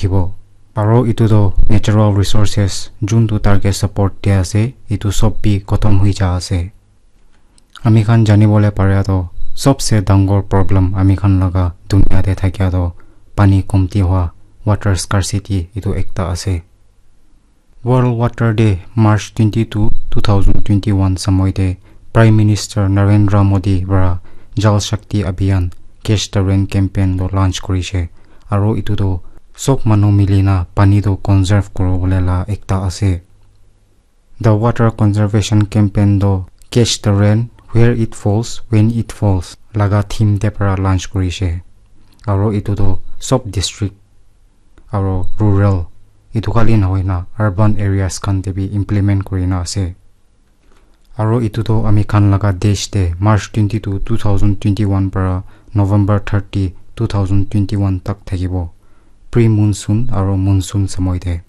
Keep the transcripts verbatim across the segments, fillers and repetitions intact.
thibo. Aro etu toh natural resources juntu tarke support dia ase, etu sob bi khotom hoi ja ase. Ami khan jani bole paria toh sobse dangor problem ami khan laga dunia te thakia toh pani komti hua, water scarcity, etu ekta ase. World Water Day, March twenty-two, two thousand twenty-one samoi te Prime Minister Narendra Modi para Jal Shakti Abhiyan, Catch the Rain campaign toh launch kurishe. Aro etu toh sob manu milina pani toh conserve kuribole la ekta ase. The water conservation campaign toh Catch the Rain, Where It Falls, When It Falls laga theme te para launch kurishe. Aro etu toh sob district aro rural, etu khali nahoi na urban areas khan te bi implement kurina ase. Aro etu toh ami khan laga desh te March twenty-two, two thousand twenty-one para November thirty, two thousand twenty-one tak thakibo, pre-monsoon aro monsoon samoi te.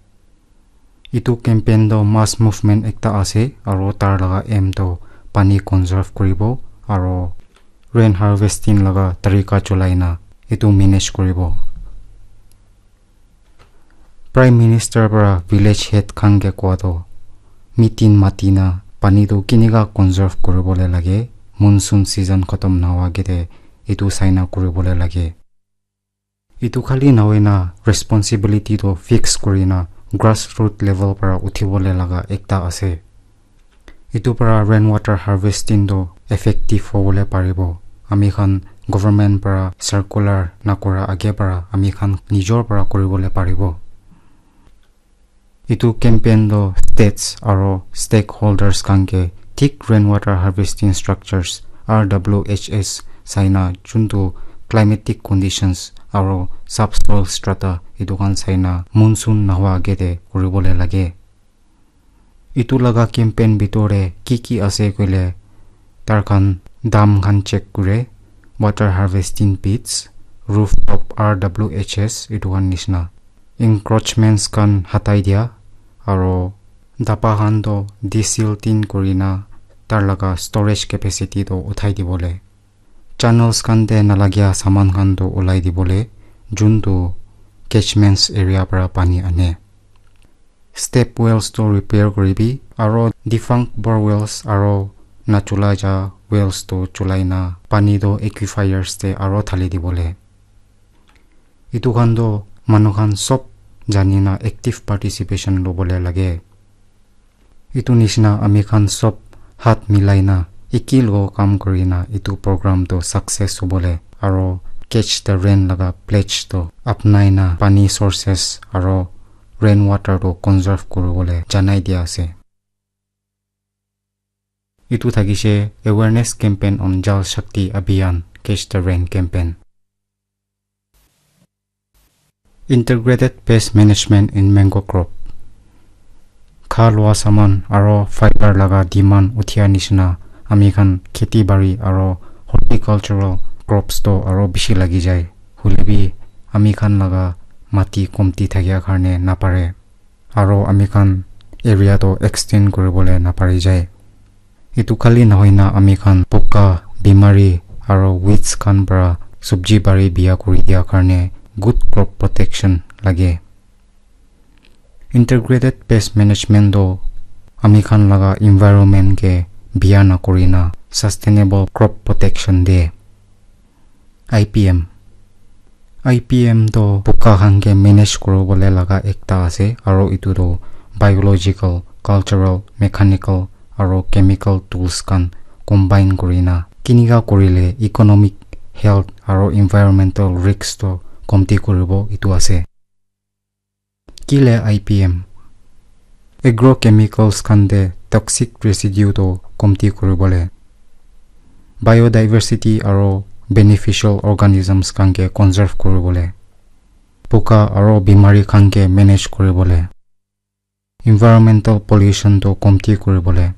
Etu campaign toh mass movement ekta ase, aro tar laga aim toh pani conserve kuribo aro rain harvesting laga tarika cholai na etu manage kuribo. Prime Minister para village head khan ke kowa toh meeting mati na pani toh kinika conserve kuribole lage, monsoon season khotom nahoa agete etu saina kuribole lage. Etu khali nahoi na responsibility toh fix kuri na grassroot level para uthibole laga ekta ase. Etu para rainwater harvesting toh effective hobole paribo. Ami khan government para circular nakura age para ami khan nijor para kuribole paribo. Etu campaign toh states aro stakeholders khan ke thik rainwater harvesting structures, R W H S, saina juntu climatic conditions aro subsoil strata etu khan saina monsoon nahoa agete kuribole lage. Etu laga campaign bitor te ki ki ase koile, tar khan dam khan check kure, water harvesting pits, rooftop R W H S etu khan nishina. Encroachments khan hatai dia, aro dapa khan toh desilting kurina tar laga storage capacity toh uthai dibole. Channels khan te nalagia saman khan toh ulai dibole, juntu catchments area para pani ane. Step wells toh repair kuribi, aro defunct bore wells aro nachula ja wells toh chulai na pani toh aquifers te aro thali dibole. Etu khan toh manu khan sob jani na active participation lobole lage. Etu nishina ami khan sob hat milai na eki logo kam kuri na etu program toh success hobole aro Catch the Rain laga pledge toh apnai na pani sources aro rainwater toh conserve kuribole janai dia ase. Etu thakishe awareness campaign on Jal Shakti Abhiyan, Catch the Rain campaign. Integrated pest management in mango crop. Kha lua saman aro fiber laga demand uthia nishina ami khan kheti bari aro horticultural crops toh aro bishi lagi jai. Hoilebi ami khan laga mati komti thakia karne napare. Aro ami khan area toh extend kuribole napari jai. Etu khali nahoi na ami khan poka, bimari aro weeds khan para sabji bari biya kuri dia karne good crop protection lage. Integrated pest management toh ami khan laga environment ke biya nakuri na sustainable crop protection de. I P M. I P M toh poka khan ke manage kuribole laga ekta ase, aro etu toh biological, cultural, mechanical, aro chemical tools khan combine kuri na kinika kurile economic, health, aro environmental risks toh komti kuribo, etu ase. Kile I P M? Agrochemicals khan de toxic residue toh komti kuribole, biodiversity aro beneficial organisms khan ke conserve kuribole, poka aro bimari khan ke manage kuribole, environmental pollution toh komti kuribole,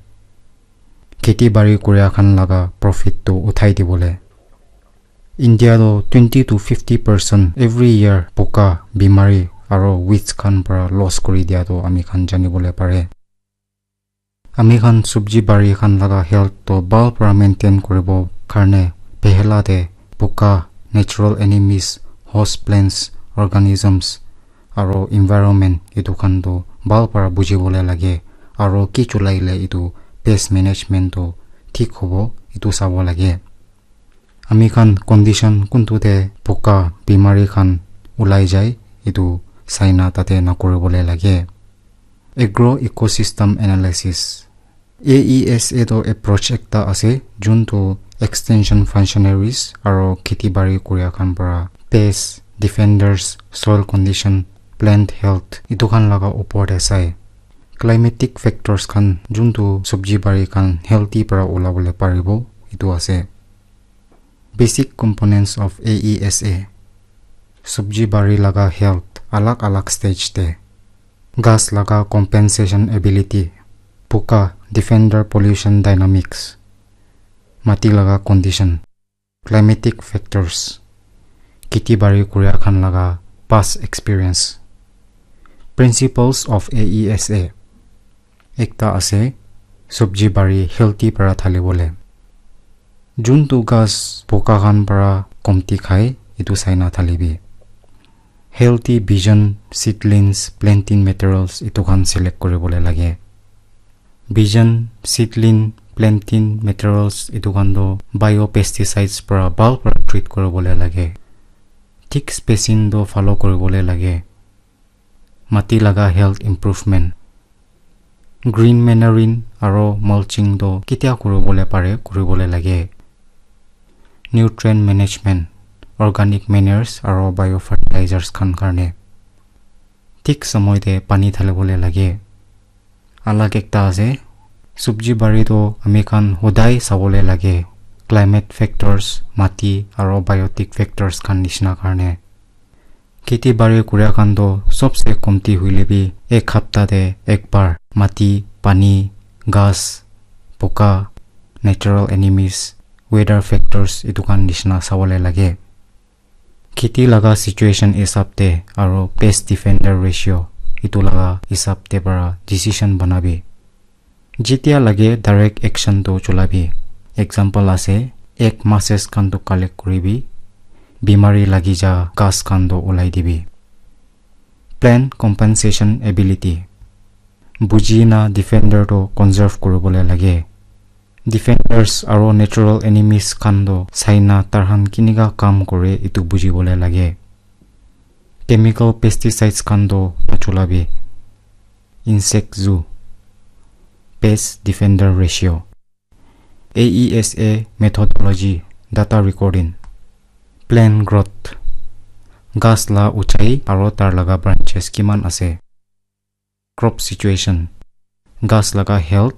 kheti bari kuria khan laga profit toh uthai dibole. India toh twenty to fifty percent every year poka, bimari aro weeds khan para loss kuri dia toh ami khan janibole pare. Ami khan sabji bari khan laga health toh bhal para maintain kuribo karne pehla te poka, natural enemies, host plants, organisms, aro environment etu khan toh bhal para buji bole lage, aro ki cholai le etu pest management toh thik hobo etu sabo lage. Ami khan condition kuntu te poka bimari khan ulai jai etu saina tate na kuri bole lage. Agro ecosystem analysis. A E S A toh approach ekta ase, jun toh extension functionaries aro kheti bari kuria khan para pest, defenders, soil condition, plant health etu khan laga upor te sai. Climatic factors khan jun toh sabji bari khan healthy para ulabole paribo etu ase. Basic components of A E S A. Sabji bari laga health alag alag stage te. Ghas laga compensation ability, poka, defender pollution dynamics, mati laga condition, climatic factors, kheti bari kuria khan laga past experience. Principles of A E S A. Ekta ase, sabji bari healthy para thali bole. Juntu ghas poka khan para komti khai, etu saina thalibi. Healthy bijan, seedlings, planting materials etu khan select kuri bole lage. Bijan, seedling, planting materials etu khan toh biopesticides para bhal para treat kuri bole lage. Thik spacing toh follow kuri bole lage. Mati laga health improvement. Green manuring aro mulching toh ketia kuri bole pare kuri bole lage. Nutrient management, organic manures aro biofertilizers khan karne. Thik samoi te pani thali bole lage. Alag ekta ase, sabji bari toh ami khan hodai sabole lage, climate factors, mati aro biotic factors khan nishina karne. Kheti bari kuria khan toh sobse komti hoile bi ek hapta te ek bar mati, pani, ghas, poka, natural enemies, weather factors etu khan nishina sabole lage. Kheti laga situation hisab te aro pest defender ratio etu laga hisab te para decision banabi. Jetia lage direct action toh chulabi. Example ase, ek masses khan toh collect kuribi, bimari lagi ja ghas khan toh ulai dibi. Plant compensation ability. Buji na defender toh conserve kuribole lage. Defenders aro natural enemies khan toh saina tarhan kinika kam kore etu bujibole lage. Chemical pesticides khan toh nachulabi. Insect zoo. Pest defender ratio. A E S A methodology, data recording. Plant growth. Ghas la uchai aro tar laga branches kiman ase. Crop situation. Ghas laga health,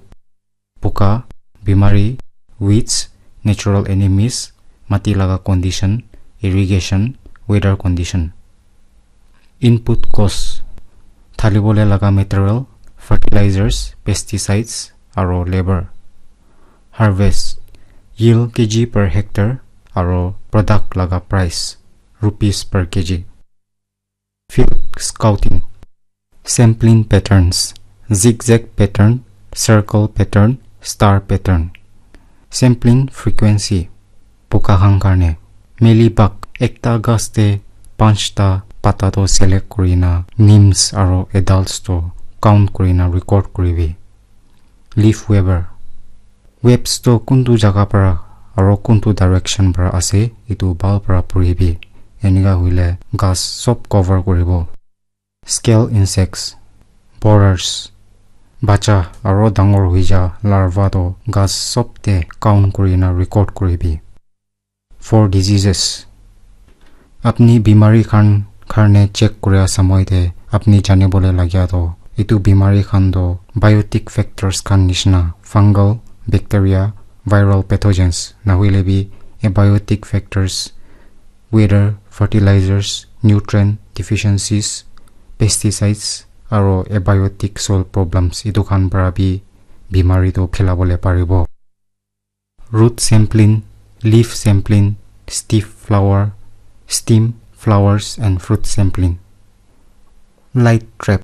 puka, bimari, weeds, natural enemies, mati laga condition, irrigation, weather condition. Input cost, thalibole laga material, fertilizers, pesticides, aro labor. Harvest, yield K G per hectare, aro product laga price, rupees per K G. Field scouting. Sampling patterns, zigzag pattern, circle pattern, star pattern. Sampling frequency, puka khan karne. Mealybug, ekta ghas te panchta pata toh select kurina, nymphs aro adults toh count kurina record kuribi. Leaf weaver. Webs toh kuntu jaga para aro kuntu direction para ase, etu bhal para puribi. Enika hoile ghas sob cover kuribo. Scale insects, borers, bacha aro dangor hoi ja larva toh ghas sob te count kurina record kuribi. For diseases. Apni bimari khan karne check kuria samoi te apni janibole lagia toh etu bimari khan toh biotic factors khan nishina fungal, bacteria, viral pathogens, nahoile bi abiotic factors, weather, fertilizers, nutrient deficiencies, pesticides, aro abiotic soil problems etu khan para bi bimari toh phelabole paribo. Root sampling, leaf sampling, stiff flower, stem, flowers and fruit sampling. Light trap.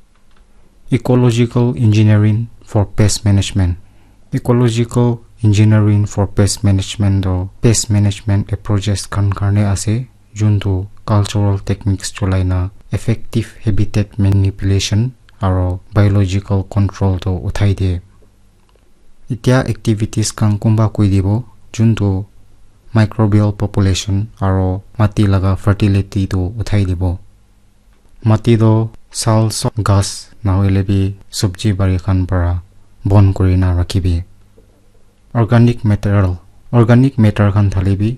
Ecological engineering for pest management. Ecological engineering for pest management toh pest management approaches khan karne ase, juntu cultural techniques chulai na effective habitat manipulation aro biological control to uthai de. Itya activities khan kumba koi dibo, juntu microbial population aro mati laga fertility to uthai dibo. Mati to sal sob ghas nahoile bi sabji bari khan para bon kuri na rakhibi. Organic material, organic matter khan thali bi,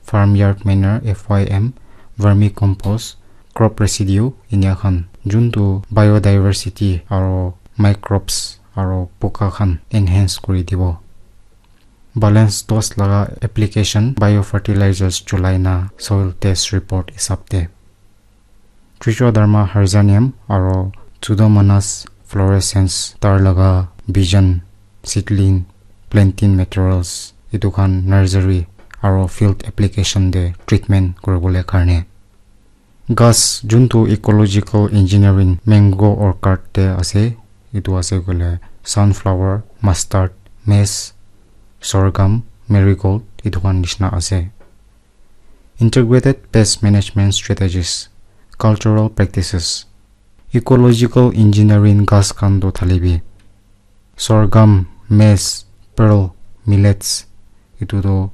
farmyard manure, F Y M, vermicompost, crop residue, inya khan, juntu biodiversity aro microbes aro poka khan enhance kuri dibo. Balance dose laga application, biofertilizers chulai na soil test report hisab te. Trichoderma harzianum aro Pseudomonas fluorescens tar laga bijan, seedling, planting materials, etu khan nursery aro field application te treatment kuribole karne. Ghas juntu ecological engineering mango orchard te ase, etu ase koile sunflower, mustard, maize, sorghum, marigold, etu khan nishina ase. Integrated pest management strategies, cultural practices. Ecological engineering ghas khan to thalibi. Sorghum, maize, pearl, millets. Etu to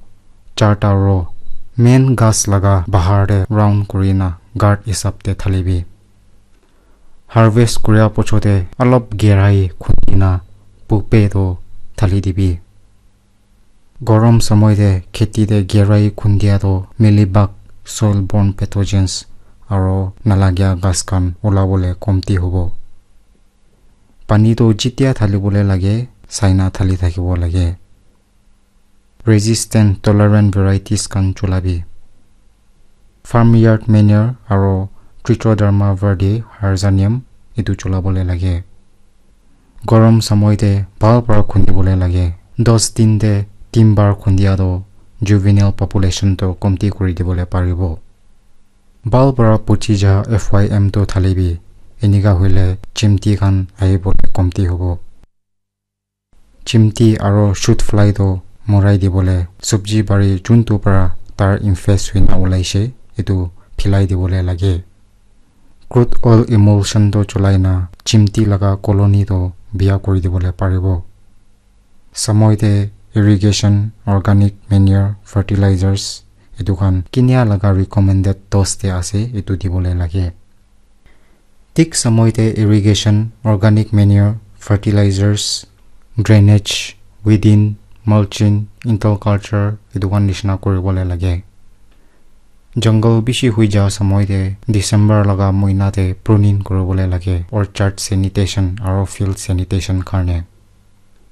charta row. Main ghas laga bahar te round kurina guard hisab te thalibi. Harvest kuria pochote alop gerai khundina pupe to thali dibi. Gorom samoi te kheti te gerai khundia to mealybug, soil borne pathogens aro nalagia ghas khan ulabole komti hobo. Pani to jitia thalibole lage, saina thali thakibo lage. Resistant tolerant varieties khan chulabi. Farmyard manure aro Trichoderma verde harzianum etu chulabole lage. Gorom samoi te bhal para khundibole lage. Dos din te tin bar khundia to juvenile population to komti kuri dibole paribo. Bhal para puchi ja F Y M to thalibi. Enika hoile chimti khan ahibole komti hobo. Chimti aro shoot fly to morai dibole, sabji bari juntu para tar infest hoina ulaishe, etu philai dibole lage. Crude oil emulsion to chulai na chimti laga colony to biya kuri dibole paribo. Samoi te irrigation, organic manure, fertilizers, etu khan kinia laga recommended dose te ase, etu dibole lage. Thik samoi te irrigation, organic manure, fertilizers, drainage, weeding, mulching, interculture, etu khan nishina kuribole lage. Jungle bishi hui ja samoi te December laga moina te pruning kuribole lage, orchard sanitation aro field sanitation karne.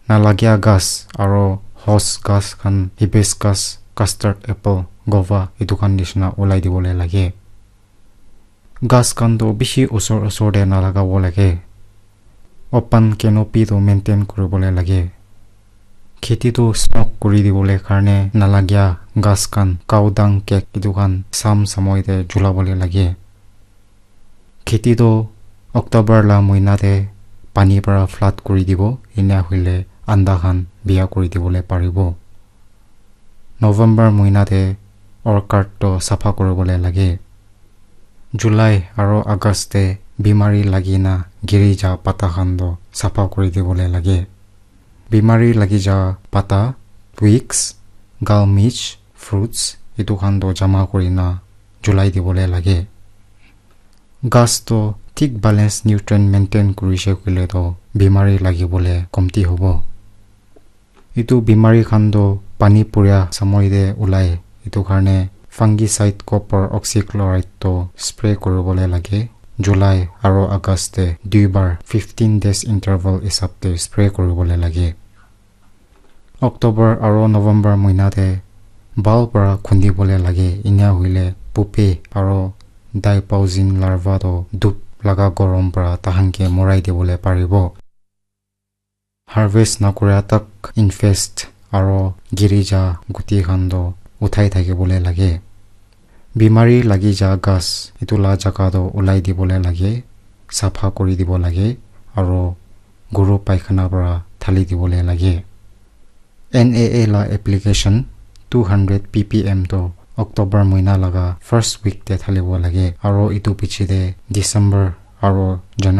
Nalagia ghas aro horse ghas khan, hibiscus, custard apple, guava, etu khan nishina ulai dibole lage. Ghas khan to bishi osor osor te nalagabo lage. Open canopy to maintain kuribole lage. Kheti to smoke kuri dibole karne nalagia ghas khan, cow dung cake, etu khan sam samoi te julabole lage. Kheti to October la moina te pani para flood kuri dibo, enia hoile anda khan biya kuri dibole paribo. November moina te orchard to sapha kuribole lage. July aro August te bimari lagi na giri ja pata khan to sapha kuri dibole lage. Bimari lagi ja pata, twigs, gal mich, fruits, etu khan to jama kuri na julai dibole lage. Ghas to thik balance nutrient maintain kurishe koile to bimari lagibole komti hobo. Etu bimari khan to pani puria samoi te ulai, etu karne fungicide copper oxychloride to spray kuribole lage. July aro August te dui bar fifteen days interval hisab te spray kuribole lage. October aro November moina te bhal para khundibole lage, enia hoile pupae aro diapausing larva to dhup laga gorom para tahan ke morai dibole paribo. Harvest nakuria tak infest aro giri ja guti khan to uthai thakibole lage. Bimari lagi ja ghas etu la jaga to ulai dibole lage, sapha kuri dibo lage, aro guru paikhana para thali dibole lage. N A A la application two hundred P P M to October moina laga first week te thalibo lage, aro etu piche te December aro January